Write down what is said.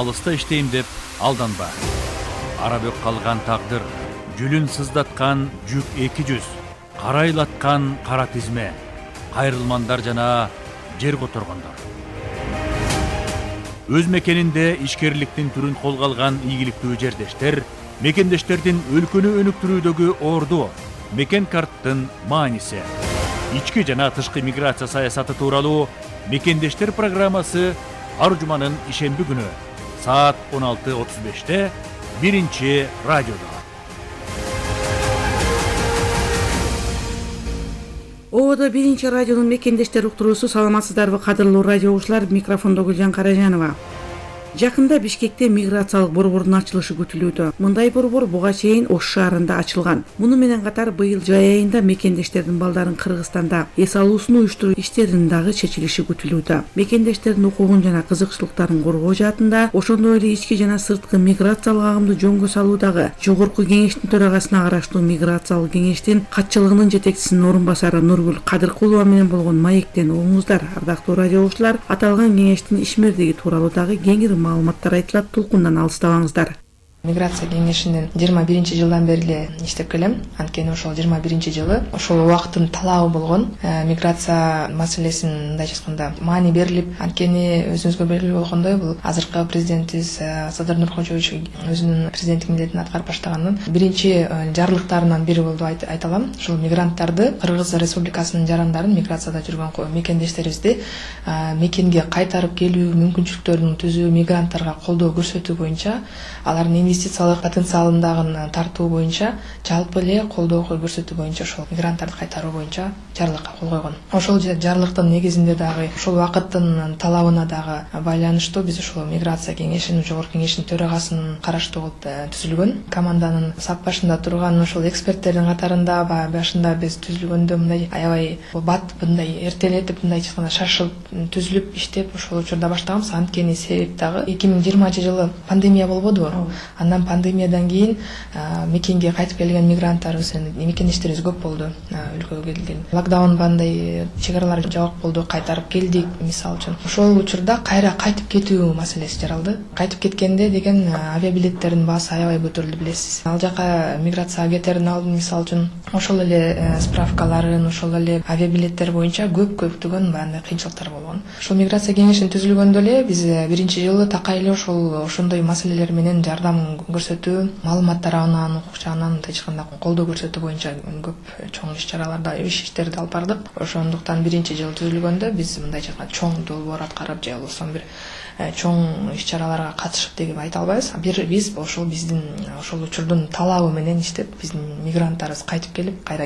алыста иштейм деп алданба. Арабөк калган тагдыр, жүлүн сыздаткан жүк 200, карайлаткан кара тизме, кайрылмандар жана жер которгондор. Өз мекенинде ишкерликтин түрүн колго алган ийгиликтүү жердештер, мекендештердин өлкөнү өнүктүрүүдөгү орду, мекен карттын мааниси. Ички жана тышкы миграция саясаты тууралуу Мекендештер программасы ар жуманын ишемби күнү саат 16:35 биринчи радиодо. Ободо биринчи радионун Мекендештер уктуруусу. Саламатсыздарбы кадырлуу радио угуучулар, микрофондо Гүлжан Каражанова. Жакында Бишкекте миграциялык борбордун ачылышы күтүлүүдө. Мындай борбор буга чейин Ош шаарында ачылган. Муну менен катар быйыл жай айында мекендештердин балдарын Кыргызстанда эс алуусун уюштуруу иштеринин дагы чечилиши күтүлүүдө. Мекендештердин укугун жана кызыкчылыктарын коргоо жаатында ошондой эле ички жана сырткы миграциялык агымды жөнгө салуудагы Жогорку кеңештин төрагасына караштуу миграциялык кеңештин катчылыгынын жетекчисинин орун басары Нургүл Кадыркулова менен болгон маектен угуңуздар. Ардактуу радио угуучулар, аталган кеңештин ишмердиги тууралуу дагы кеңири маалыматтар айтылат, толкундан алыстабаңыздар. Миграция кеңешинин 21 жылдан бери эле иштеп келем. Анткени ошол 21 жылы ошол убакыттын талабы болгон миграция маселесин мындай айтканда маани берилип, анткени өзүңүзгө белгилүү болгондой бул азыркы президентибиз Садыр Нуркожоевич өзүнүн президенттик милдетин аткарып баштаганын биринчи жарлыктарынан бири болду айта алам. Ушул мигранттарды, Кыргыз Республикасынын жарандарын, миграцияда жүргөн мекендештерибизди мекенге кайтарып келүү мүмкүнчүлүктөрүн түзүү, мигранттарга колдоо көрсөтүү боюнча, алардын инвестициялык потенциалындагы тартуу боюнча, жалпы эле колдоо көрсөтүү боюнча ошол мигранттарды кайтаруу боюнча жарлыкка кол койгон. Ошол жарлыктын негизинде дагы ошол убакыттын талабына дагы байланыштуу биз ошол миграция кеңешинин, жогорку кеңештин төрагасынын караштуу кылып түзүлгөн. Команданын сап башында турган ошол эксперттердин катарында башында биз түзүлгөндө мындай аябай бат мындай эртелетип, мындай айтканда шашылып түзүлүп иштеп ошол учурда баштаганбыз. Анткени себеп дагы 2020 жылы пандемия болбодубу? Андан пандемиядан кийин мекенге кайтып келген мигранттарыбыз, мекендештерибиз көп болду өлкөгө келген. Локдаун бандай чекаралар жабык болду, кайтарып келдик мисалы үчүн. Ошол учурда кайра кайтып кетүү маселеси жаралды. Кайтып кеткенде деген авиабилеттердин баасы аябай көтөрүлдү, билесиз. Ал жака миграцияга кетердин алдын мисалы үчүн ошол эле справкаларын, ошол эле авиабилеттер боюнча көптөгөн баандай кыйынчылыктар болгон. Ошол миграция кеңешин түзүлгөндө эле биз биринчи жылы такай эле ошондой маселелер менен жардам көрсөтүү, маалыматтар алуунан, укук жагынан мындай айтканда колдоо көрсөтүү боюнча көп чоң иш-чараларда иштерди алып бардык. Ошондуктан биринчи жылы түзүлгөндө биз мындай айтканда чоң долбоор аткарып же болбосо бир чоң иш-чараларга катышып деп айта албайбыз. Биз ошол биздин ошол учурдун талабы менен иштеп, биздин мигранттарыбыз кайтып келип, кайра